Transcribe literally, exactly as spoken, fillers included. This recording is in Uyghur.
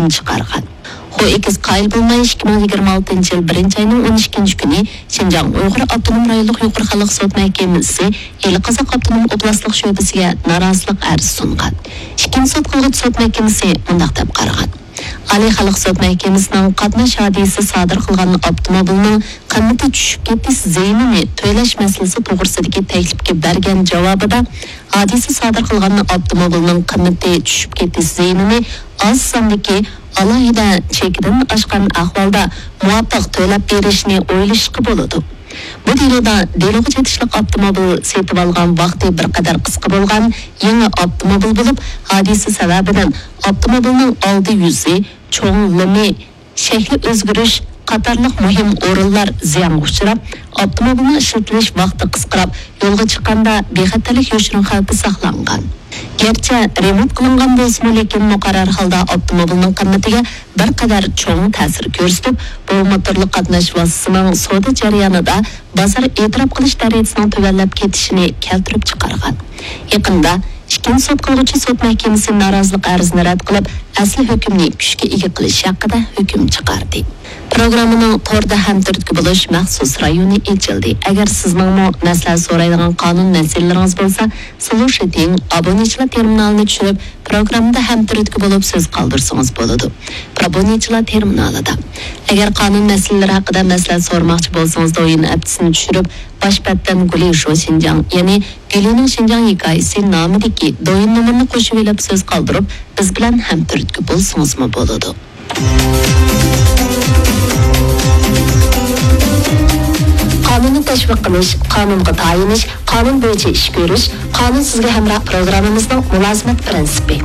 چىقارغان. خو ئېكس قايىل بولماي، ئىككى مىڭ يىگىرمە ئالتىنچى يىل بىرىنچى ئاينىڭ ئون ئىككىنچى كۈنى شىنجاڭ ئۇيغۇر ئاپتونوم رايونلۇق يۇقىرى خەلق سوت مەھكىمىسى ئىلى قازاق ئاپتونوم ئوبلاستلىق شۆبىسىگە نارازىلىق ئەرزى سۇنغان. ئىككىنچى سوت قىلغۇچى سوت مەھكىمىسى مۇنداق دەپ قارىغان: ئالىي خەلق سوت مەھكىمىسىنىڭ قاتناش ھادىسىسى سادىر قىلغان ئاپتوموبىلنىڭ قىممىتى چۈشۈپ كېتىش زىيىنىنى تۆلەش مەسىلىسى توغرىسىدىكى تەكلىپكە بەرگەن جاۋابىدا، ھادىسە سادىر قىلغان ئاپتوموبىلنىڭ قىممىتى چۈشۈپ كېتىش زىيىنىنى ئاز ساندىكى ئالاھىدە چېكىدىن ئاشقان ئەھۋالدا مۇۋاپىق تۆلەپ بېرىشنى ئويلىشىشقا بولىدۇ. بۇ دېلودا دېلوغا چېتىشلىق ئاپتوموبىل سېتىۋالغان ۋاقتى بىر قەدەر قىسقا بولغان يېڭى ئاپتوموبىل بولۇپ، ھادىسە سەۋەبىدىن ئاپتوموبىلنىڭ ئالدى يۈزى، چوڭ لىمى، شەكلى ئۆزگىرىش قاتارلىق مۇھىم ئورۇنلار زىيانغا ئۇچراپ، ئاپتوموبىلنىڭ ئىشلىتىلىش ۋاقتى قىسقىراپ، يولغا چىققاندا بىخەتەرلىك يوشۇرۇن خەۋپى ساقلانغان. گەرچە رېمونت قىلىنغان بولسىمۇ، لېكىن مۇقەررەر ھالدا ئاپتوموبىلنىڭ قىممىتىگە بىر قەدەر چوڭ تەسىر كۆرسىتىپ، بۇ موتورلۇق قاتناش ۋاسىتىسىنىڭ سودا جەريانىدا بازار ئېتىراپ قىلىش دەرىجىسىنىڭ تۆۋەنلەپ كېتىشىنى كەلتۈرۈپ چىقارغان. يېقىندا ئىككىنچى سوت قىلغۇچى سوت مەھكىمىسى نارازىلىق ئەرزىنى رەت قىلىپ، ئەسلى ھۆكۈمنى كۈچكە ئىگە قىلىش ھەققىدە ھۆكۈم چىقاردى. پروگراممىنىڭ توردا ھەمتۈرتكە بولۇش مەخسۇس رايونى ئېچىلدى. ئەگەر سىزنىڭمۇ مەسلىھەت سورايدىغان قانۇن مەسىلىلىرىڭىز بولسا، سلۇشىتىڭ ئابونېنتچىلار تېرمىنالىنى چۈشۈرۈپ، پروگراممىدا ھەمتۈرتكە بولۇپ سۆز قالدۇرسىڭىز بولىدۇ. ئابونېنتچىلار تېرمىنالىدا. ئەگەر قانۇن مەسىلىلىرى ھەققىدە مەسلىھەت سورىماقچى بولسىڭىز، دويىن ئەپتىسىنى چۈشۈرۈپ، باش بەتتىن گۇلى شو شىنجاڭ، يەنى گۈلىنىڭ شىنجاڭ ھېكايىسى نامىدىكى دويىن نومۇرىنى قوشۇۋېلىپ سۆز قالدۇرۇپ، بىز بىلەن ھەمتۈرتكە بولسىڭىزمۇ بولىدۇ. قانۇننى تەشۋىق قىلىش، قانۇنغا تايىنىش، قانۇن بويىچە ئىش كۆرۈش، قانۇن سىزگە ھەمراھ پروگراممىمىزنىڭ مۇلازىمەت پىرىنسىپى.